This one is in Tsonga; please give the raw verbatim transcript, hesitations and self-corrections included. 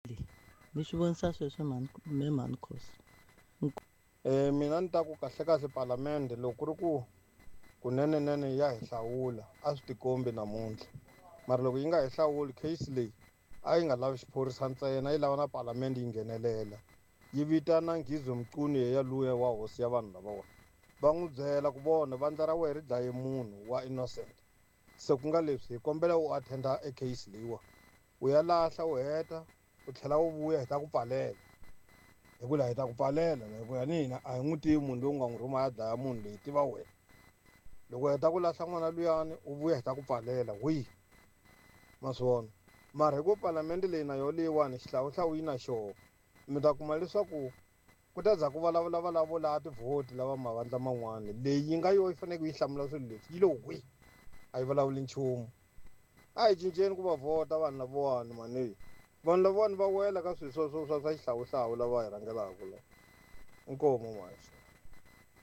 Leyi ni swi vonisa sweswo mhani me mhani Khosi. E, mina ni ta ku kahlekahle palamende loko ku ri ku kunenenene ya hi hlawula a swi tikombi namuntlha, mara loko yi nga hi hlawuli case leyi a yi nga lavi xiphorisa ntsena, yi lava na palamende yi nghenelela, yi vitana Ngizwe Mchunu yeya luya wa hosi ya vanhu lavawa, va n'wi byela ku vona vandla ra wena ri dlaye munhu wa innocent, se ku nga leswi hi kombela u attenda e case leyiwa, u ya lahla u heta u tlhela u vuya hi ta ku pfalela, hi ku laha hi ta ku pfalela la, hikuva ni hina a hi n'wi tivi munhu loyi u nga n'wi rhuma ya dlaya munhu loyi, tiva wena. Loko u heta ku lahla n'wana luyani u vuya hi ta ku pfalela wihi, ma swi vona. Mara hi ku palamende leyi na yona leyiwani xihlawuhlawu yi na xoho, mi ta kuma leswaku ku ta za ku vulavula va lavo lava tivhoti lava mavandla man'wana, leyi yi nga yo yi faneleke yi hlamula swilo leswi yi lo hwi, a yi vulavuli nchumu. A hi cinceni ku va vhota vanhu lavawani mani, vanhu lavawani va wela ka swilo swa swa swa swa xihlawuhlawu lava hi rhangelaka la. Inkomu mhani.